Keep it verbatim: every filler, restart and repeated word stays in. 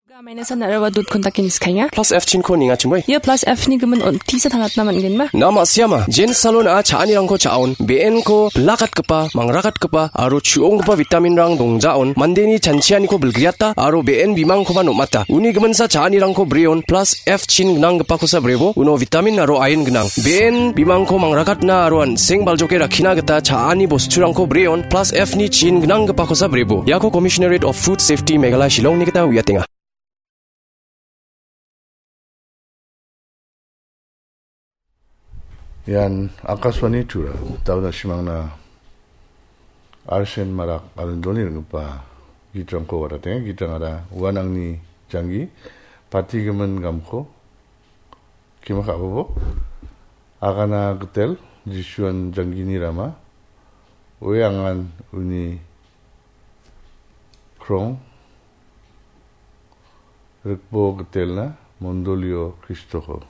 Ga mainasa naraba dot kontaki niskainga. Plus F chinko ningachimoi. Ia plus F ni gimin on tisa tangatna man·genma. Na ma·siama, Jen Salon-a cha·anirangko cha·on, be·enko bilakatgipa, mangrakatgipa, aro chu·onggipa vitaminrang dongjaon, mandeni chanchianiko bilgriata, aro be·en bimangkoba nom·ata. Uni giminsa cha·anirangko breon, plus F chin gnanggipakosa brebo, uno vitamin aro ain gnang. Be·en bimangko mangrakatna aro an·seng baljoke rakkina gita cha·ani bosturangko breon, plus F ni chin gnanggipakosa brebo. Iako Commissionerate of Food Safety Meghalaya Shillongni gita uiatenga. Ian Akashvani Tura, da·o na·simangna Arshen Marak Arindoni ringgipa gitrangko wadatenga. Gitrangara uan angni janggi, patigimin gamko, kima ka·bobo, agana gitel, Jisuan janggini rama, oe angan uni krong, rikbo gitelna, mondolio Kristoko.